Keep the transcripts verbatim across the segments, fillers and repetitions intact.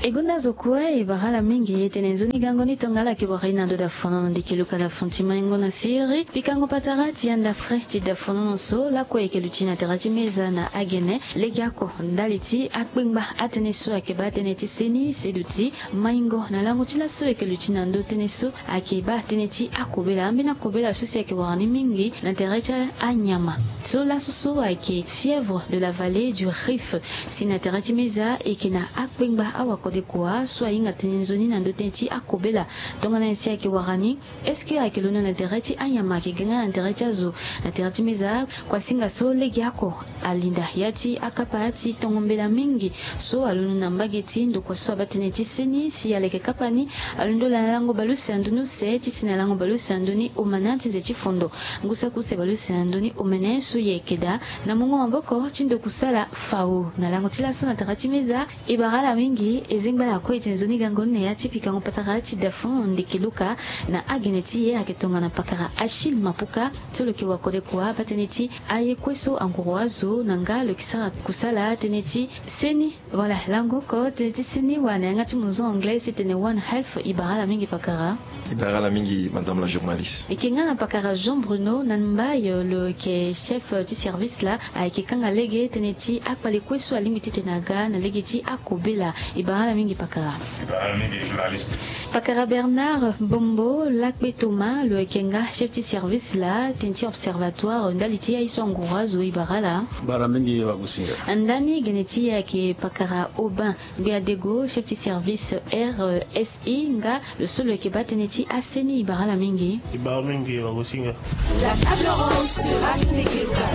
E gonda zo kue e bara ala mingi e tene nzoni gango ni tongana ala yeke wara e na ndo dafonono ndiki luka na fon ti maingo na siriri pikango patara ti anda pre ti dafonono so lakue e yeke luti na tere ti meza na agene legeoko ndali ti akpengba atënë so ayeke baa tënë ti seni seduti maingo na lango ti laso e yeke luti na ndo tënë so ayeke baa tënë ti akobela ambeni akobela so si ayeke wara ni mingi na tere ti anyama so laso so ayeke fièvre de la vallée du rift. Si na tere ti meza e yeke na akpengba awakodekua so ahinga tënë nzoni na ndo tënë ti akobela tongana nyen si ayeke wara ni? Est-ce que ayeke londo na tere ti anyama ayeke ga nga na tere ti azo? Na tere ti meza kuasinga so legeoko alinda ya ti akapa ti tongo mbela mingi so alondo na mbage ti ndokua so abaa tënë ti seni si aleke kapa ni alondo na lango baleuse na ndoni use ti si na lango baleuse na ndoni omana ti nze ti fondo ngu saki use baleuse na ndoni omene so e yeke daa na mungo maboko ti ndokusala fao na lango ti laso na tere ti meza. E bara ala mingi e zengba lakue e tene nzoni gango ni na ya ti pikango patara ti dafon ndeke luka na agene ti e ayeke tongana pakara Achille Mapuka so lo yeke wakodekua baa tënë ti aye kue so anguru azo na nga lo yeke sara kusala tënë ti seni. Voilà lango oko tënë ti seni wala na yanga ti monzon anglais so e tene One Health. E bara ala mingi pakara. E bara ala mingi madame la journaliste. E yeke nga na pakara Jean Bruno na mbai lo yeke chef ti service laa. Ayeke kanga lege tënë ti akpale kue so alingbi ti tene aga na lege ti akobela. E bara ala mingi pakara. E bara ala mingi journaliste. Pakara Bernard Bombo lakpe Thomas lo yeke nga chef ti service laa tënë ti observatoire ndali ti aye so anguru azo. E bara ala. Bara mingi wagosinga. Ndani gene ti e ayeke pakara Aubin Gbeadego chef ti service R S I nga lo so lo yeke baa tënë ti aseni. E bara ala mingi. E bara mingi wagosinga. La table ronde sera tuni keluka.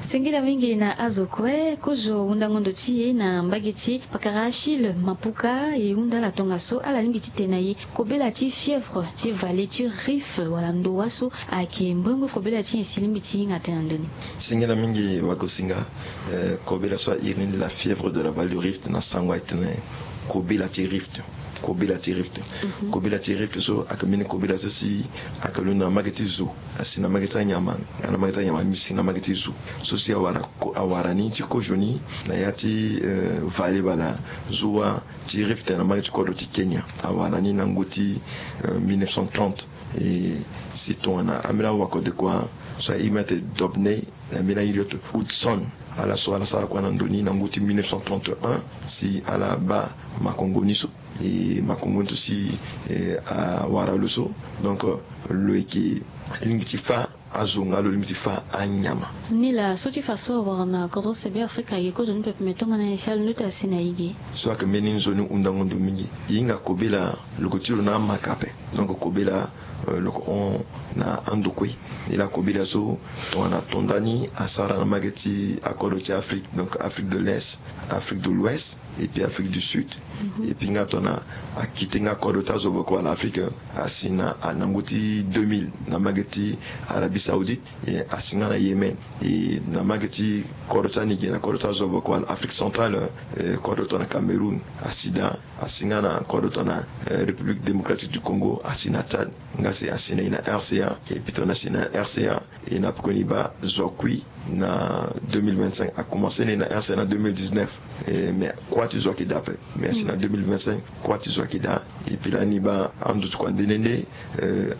Singila mingi na azo kue kozo wundango ndo ti e na mbage ti pakara Achille Mapuka e hunda ala tongaso ala lingbi ti tene na e kobela ti fièvre ti vallée ti rift wala ndowa so ayeke mbongo kobela ti nyen si lingbi ti hinga tënë na ndoni. Singila mingi wagosinga. Kobela so a iri ni la fièvre de la vallée du rift na sango ayeke tene kobela ti rift. Kobela ti rift. Kobela ti rift so ayeke mbeni kobela so si ayeke londo na mbage ti zo asi na mbage ti anyama. Asi na mbage ti anyama ni mbi si na mbage ti zo so si awara ni ti kozo ni na ya ti vale wala zuwa ti rift na mbage ti kodro ti Kenya. Awara ni na ngu ti mille neuf cent trente. E si tongana ambeni awakodekua so a iri mbi ate Dobney na mbeni airi oto Hudson. Ala so ala sara kua na ndo ni na ngu ti mille neuf cent trente et un si ala baa makongo ni so. E makongo ni so si awara lo so donc lo yeke lingbi ti fâ azo nga lo lingbi ti fâ anyama. Nilaa so ti fa so awara na kodro ti Be Afrika ayeke kozo ni pepe me tongana nyen si alondo ti asi na e ge? So ayeke mbeni nzoni hundango ndo mingi. E hinga kobela lo yeke ti lo na amaka ape. Donc kobela lo yeke hon na ando kue. Nilaa kobela so tongana tonda ni asara na mbage ti akodro ti Afrique, donc Afrique de l'Est, Afrique de l'Ouest et puis Afrique du Sud. Et puis nga tongana akite nga kodro ti azo boko wala Afrique asi na ngu ti deux mille na mbage ti Arabie Saoudite. E asi nga na Yémen. E na mbage ti kodro ti ani ge na kodro ti azo boko wala Afrique centrale. Kodro tongana Cameroun asi daa. Asi nga na kodro tongana République Démocratique du Congo, asi na Tchad, nga si asi na e na R C A. Et puis tongana asi na R C A e na pekoni baa zo akui na deux mille vingt-cinq. Akomanse ni na R C A na deux mille dix-neuf. Mais kua ti zo ayeke daa ape. Mais asi na deux mille vingt-cinq kua ti zo ayeke daa. Et puis lani baa ando ti kua nde nde nde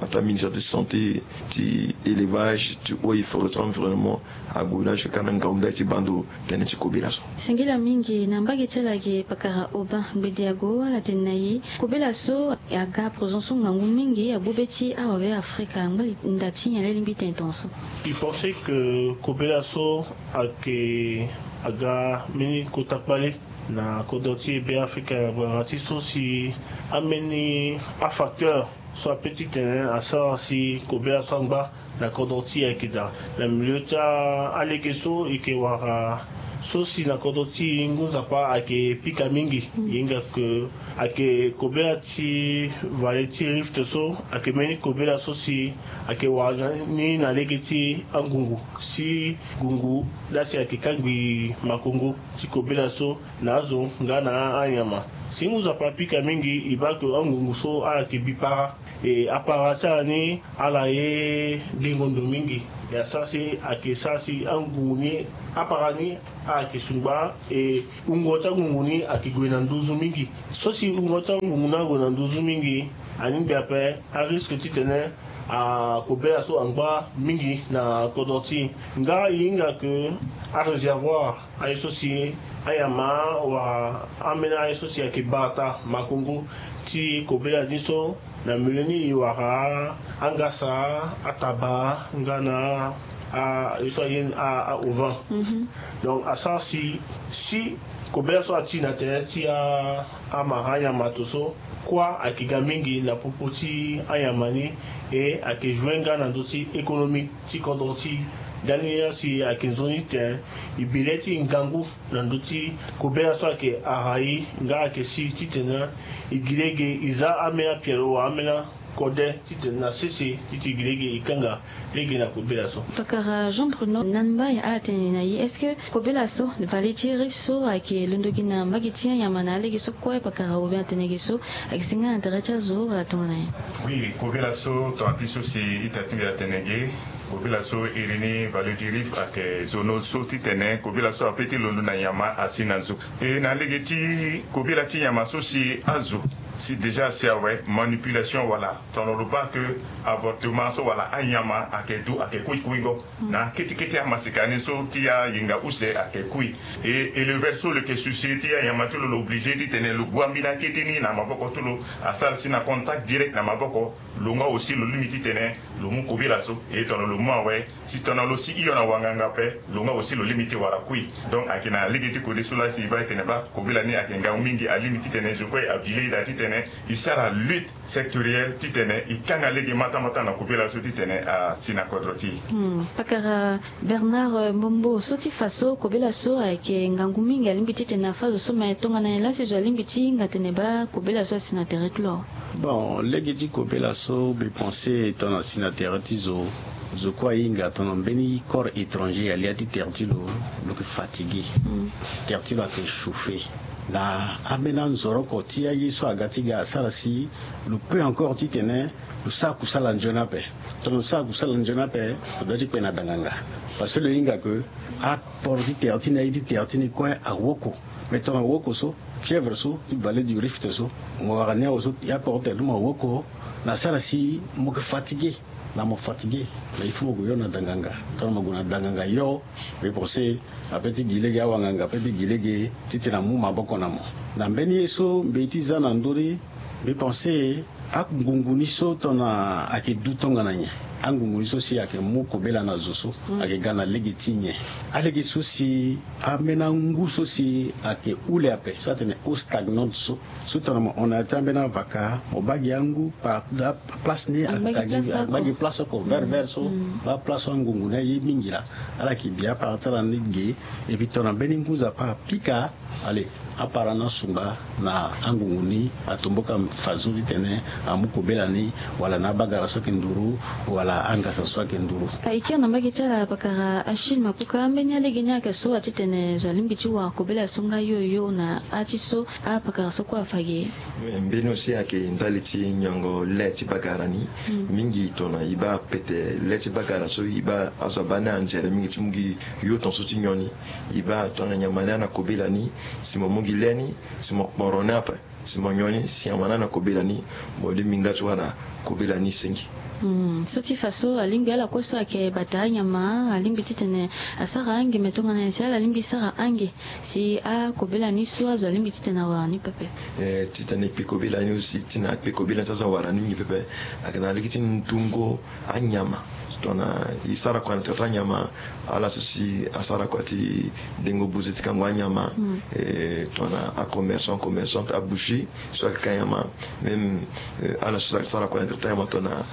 ataa ministère ti santé, ti élevage, ti eaux et forêts, ti environnement ague na azo kâ na ngaumdai ti bando tënë ti kobela so. Singila mingi. Na mbage ti ala ge pakara Aubin Gbediago ala tene na e kobela so aga présent so ngangu mingi agbu be ti awabe Afrika angba li nda ti nyen laa e lingbi tene tongaso? Il pensait que kobela so ayeke aga mbeni kota kpale na kodro ti e Be Afrika na ngbanga ti so si ambeni afacteur so ape titene asara si kobela so angba na kodro ti e ayeke daa. Na milieu ti alege so e yeke wara so si na kodro ti e ngu nzapa ayeke pika mingi. E hinga ke ayeke kobela ti vale ti rift so ayeke mbeni kobela so si ayeke wara ni na lege ti angungu si ngungu laa si ayeke kangbi makongo ti kobela so na azo nga na anyama. Si ngu Nzapa apika mingi, e baa ke angungu so ala yeke bi para. E apara ti ala ni ala ye dengo ndo mingi. E asara si ayeke sara si angungu ni, apara ni ala yeke sungba. E wungo ti angungu ni ayeke gue na nduzu mingi. So si wungo ti angungu ni ague na nduzu mingi, alingbi ape ariske titene akobela so angba mingi na kodro ti e. Nga e hinga ke aréservoir aye so si anyama wala ambeni aye so si ayeke bata makongo ti kobela ni so, na milieu ni e wara angasa, ataba nga na aye so aye aovan. Donc asara si si kobela so ati na tere ti amara anyama to so, kuâ ayeke ga mingi na popo ti anyama ni. E ayeke joue nga na ndö ti économie ti kodro ti e. Ndani ni asi ayeke nzoni titene e bi le ti ngangu na ndö ti kobela so ayeke ara e nga ayeke si titene e gi lege e za ambeni apialo wala ambeni akode titene na sese ti ti gi lege e kanga lege na kobela so. Pakara Jean Bruno Namba, ala tene na e, est-ce que kobela so, vallée ti Rift so ayeke londo gi na mbage ti anyama na alege so kue pakara, ou bien atene ge so ayeke si nga na tere ti azo wala tongana nyen? Oui, kobela so tongana ti so si ita ti mbi atene ge. Kobela so iri ni vallée du Rift ayeke zono so titene kobela so apeut ti londo na nyama asi na nzo. E na lege ti kobela ti nyama so si azo si déjà asi awe, manipulation wala tongana lo baa ke avortement so wala anyama ayeke du ayeke kui kuingo na kete kete amasika ni so ti ayinga use ayeke kui. E éleveur so lo yeke susi ti anyama ti lo, lo obligé titene lo gua mbeni akete ni na maboko ti lo, asara si na contact direct na maboko. Lo nga aussi lo lingbi titene lo mu kobela so. E tongana lo mu awe, si tongana lo si hio na wanganga ape, lo nga aussi lo lingbi ti wara kui. Donc ayeke na lege ti kode so laa si e baa e tene baa kobela ni ayeke ngangu mingi, alingbi titene je crois e abi lege daa titene e sara lutte sectorielle titene e kanga lege mata mata na kobela so titene asi na kodro ti e. Hmm, pakara Bernard, euh, Mbombo, so ti fa so kobela so ayeke ngangu mingi, alingbi titene afa zo so, me tongana nyen laa si zo alingbi ti hinga tene baa kobela so asi na tere ti lo? Bon, lege ti kobela so, mbi pense tongana asi na tere ti zo, zo kue ahinga tongana mbeni corps étranger alia ti tere ti lo, lo yeke fatigué. Hmm. Tere ti lo ayeke chauffé. Na ambeni anzoroko ti aye so aga ti ga asara si lo peut encore titene lo sara kusala nzoni ape. Tongana lo sara kusala nzoni ape, lo doit ti kpe na danganga. Parce que lo hinga ke aport ti tere ti ni, aye ti tere ti ni kue awoko. Mais tongana awoko so, fièvre so ti vallée du Rift so, mo wara ni awe so, e aport ti tere ti mo awoko, na asara si mo yeke fatigué. Na mo fatigué, mais il faut mo gue yo na danganga. Tongana mo gue na danganga yo, mbi pense apeut ti gi lege, awanganga apeut ti gi lege titene amu maboko na mo. Na mbeni ye so mbi ye ti za na ndö ni, mbi pense angungu ni so tongana ayeke du tongana nyen? Angungu ni so si ayeke mu kobela na zo so, hmm, ayeke ga na lege ti nyen? Alege so si ambeni angu so si ayeke hule ape, so atene eau stagnante so, so tongana mo hon na ya ti ambeni avaka, mo baa gi angu par place ni, abaa gi place oko vert vert so. Hmm. Baa place so angungu ni aye mingi laa, ala yeke bi apara ti ala ni ge. Et puis tongana mbeni ngu Nzapa apika, allez, apara ni asungba na angungu ni, atomboka fadeso titene amu kobela ni, wala na abagara so ayeke nduru, wala angasa so ayeke nduru. E kiri na mbage ti ala pakara Achille Mapuka, ambeni alege ni ayeke so atitene zo alingbi ti wara kobela so nga yo yo na ati so apakara so kue afa ge? Mbeni aussi ayeke ndali ti niongo le ti bagara ni. Hmm. Mingi tongana e baa pete le ti bagara so, e baa azo abaa ni anzere mingi ti mu gi yo tongaso ti nyon ni. E baa tongana nyama ni ana kobela ni, si mo mu gi le ni, si mo kporo ni ape, si mo nyon ni, si nyama ni ana kobela ni, mo lingbi nga ti wara kobela ni senge. Hmm, so ti fa so alingbi ala kue so ayeke bata anyama alingbi titene asara ange, me tongana nyen si ala lingbi sara ange si akobela ni so azo alingbi titene awara ni pepe? Eh, titene e kpe kobela ni aussi, ti na akpe kobela ni so azo awara ni mingi pepe, ayeke na lege ti ndungo anyama. Tongana e sara kua na tere ti anyama, ala so si asara kua ti dengo buze ti kango anyama. Hmm. Eh, tongana acommerçant, commerçante, aboucherie so ayeke ka nyama. Même, eh, ala so si asara kua na tere ti anyama, tongana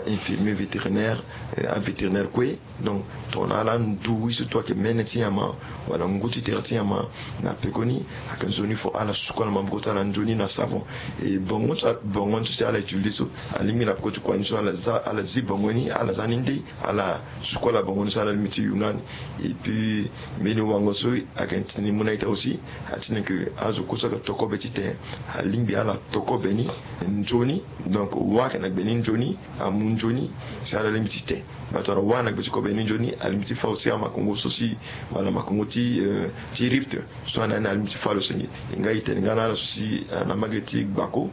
ainfirmier vétérinaire, eh, avétérinaire kue. Donc tongana ala ndu ye so tout ayeke mene ti nyama wala ngu ti tere ti nyama, na pekoni ayeke nzoni fo ala suku ala maboko ti ala nzoni na savon. E bongo ti, bongo ni so si ala utiliser so, alingbi na peko ti kua ni so ala za, ala zi bongo ni, ala za ni nde. ala suku ala bango ni so ala lingbi ti yunga ni. Et puis mbeni wango so ayeke titene e mu na ita aussi, atene ke azo kue so ayeke tokobe titene alingbi ala tokobe ni nzoni. Donc wâ ayeke na gbe ni nzoni, amu nzoni si ala lingbi ti te. Batara wâ na gbe ti kobe ni nzoni alingbi ti fa aussi amakongo so si, wala makongo ti, euh, ti Rift so anda ni alingbi ti fa lo senge. E nga e tene nga na ala so si, euh, na mbage ti gbako